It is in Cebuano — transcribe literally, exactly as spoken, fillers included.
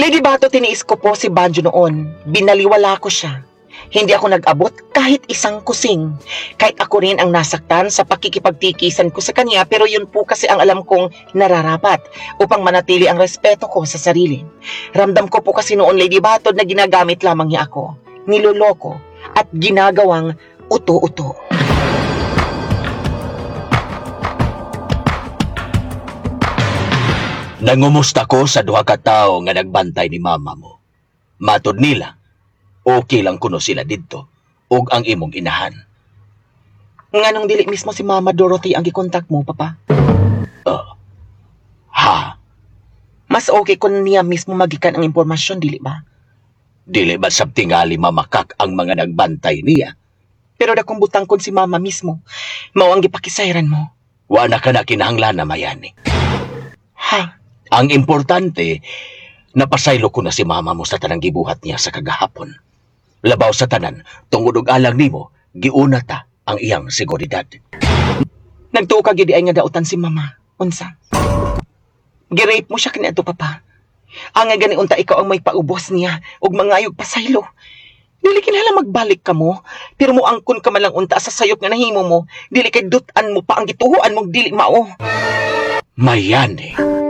Lady Bato, tiniis ko po si Banjo noon. Binaliwala ko siya. Hindi ako nag-abot kahit isang kusing. Kahit ako rin ang nasaktan sa pakikipagtikisan ko sa kanya, pero yun po kasi ang alam kong nararapat upang manatili ang respeto ko sa sarili. Ramdam ko po kasi noon, Lady Bato, na ginagamit lamang niya ako. Niloloko at ginagawang uto-uto. Nangumusta ko sa duha ka tawo nga nagbantay ni mama mo. Matod nila, okay lang kuno sila didto ug ang imong inahan. Nganong dili mismo si Mama Dorothy ang gikontak mo, Papa? Uh, ha? Mas okay kung niya mismo magikan ang impormasyon, dili ba? Dili ba sab tingali mamakak ang mga nagbantay niya? Pero dakong butang kon si Mama mismo, mao ang gipakisayran mo. Wa na ka na kinahanglan na mayani. Ha? Ang importante, napasaylo ko na si mama mo sa tanang gibuhat niya sa kagahapon. Labaw sa tanan, tungod og alang nimo, giuna ta ang iyang seguridad. Nagtuo ka gid ay nga dautan si Mama. Unsa? Girape mo siya kaniadto, Papa. Ang nga gani unta ikaw ang may paubos niya ug mangayog pasaylo. Dili kinahanglan magbalik ka mo, pero moangkon ka man lang unta sa sayop nga nahimo mo. Dili kay dut-an mo pa ang gituhuan mong dili mao. Mayani.